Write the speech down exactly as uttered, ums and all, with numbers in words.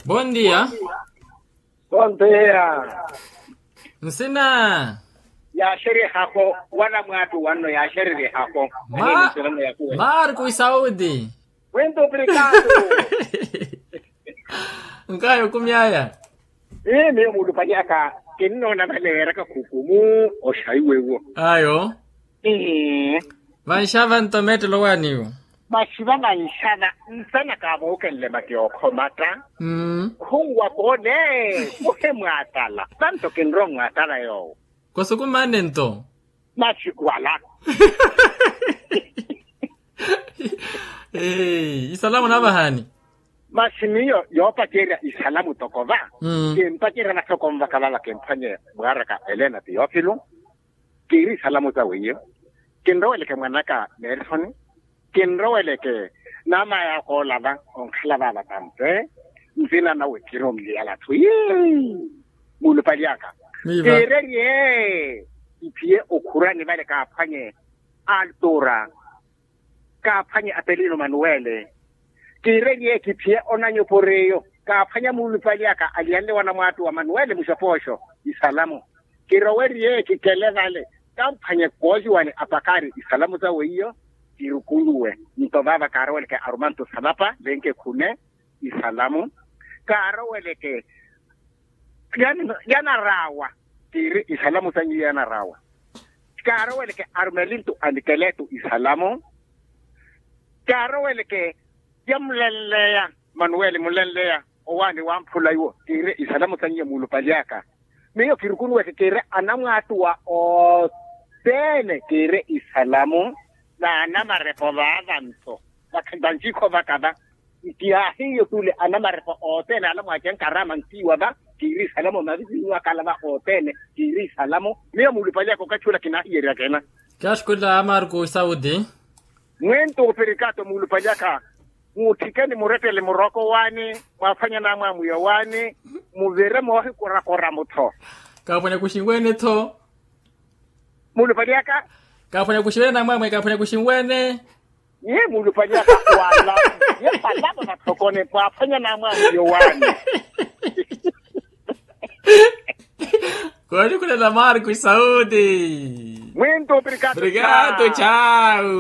Bondia. Bondia. Nsina. Yaaxeryehaho wala mwaattu wanno yaaxeryehaho. Maari kuisaudi. Wintu prikatu. Nkaya okumyaya. Miyo muulupali aka kinnoona vale weeraka khukumu oxaiwe wo. Ayo. Vanxava nto meettelo waaniwo. Masi va vanxava nsana kaavookenle mati okhomata. Khunwa koone. Kuhemwaatala vanto kinrowa onwaatala yoowo. Kosukumane nto. Masi wala. Isalamu naavahani. Masi miyo yoopacerya isalamu toko va. Kimpacerya vathoko nvaka vava kimphwanye mwaaraka elena tiyofilu. Kiiri isalamu sawe iyo. Kinroweleke mwanaka nersoni. Kinroweleke namayaka ola va onkhala vava tampe. Nsina nawe kiiri omuliyala atthu. Muulupali aka. Kiirerye kiphiye okhurani vale kaaphwanye altura. Kaaphwanye apelino manuwele. Kiirerye kiphiye onanyopora eyo kaaphwanya muulupali aka aliyanle wanamwaattu wa manuwele muxopooxo. Isalamu. Kirowerye kikele vale kamphwanye kooxiwani apakari isalamu sawe iyo. Kirukunuwe nto vava kaaroweleke arumantu salapa lenke khune. Isalamu. Kaaroweleke yanaraawa. Kiiri isalamu sanyu yanaraawa. Kaaroweleke arumelintu anikeletu isalamu. Kaaroweleke yamulenleya manuweli mulenleya owaani wamphula iwo kiiri isalamu sanyu muulupali aka. Miyo kirukunuweke kiiri anamwaattuwa othene kiiri isalamu. N'anamarepo vaava nto vakhantanci khovaka va. Nti ahiyo tule anamarepo othene alamwaace nkarama ntiiwa va. Kiiri isalamu mavisinyu akala va othene. Kiiri isalamu. Miyo muulupali aka okathi ula kinahiyerya kena. Kaxkula amarku saudi. Mwintu opirikato muulupali aka. Muutthikeni murettele muroko waani. Mwaafanya namwamwiya waani. Muvire moohikorakora mutho. Kaaphwanya kuxinweene-tho. Muulupali aka. Kaaphwanya kuxinweene namwamwiya kaaphwanya kuxinweene. Ye muulupali aka wala. Ye palapa vathokone pwaaphwanya namwamwiya waani. Koolikulela marku isaudi. Mwintu opirikato. Chau.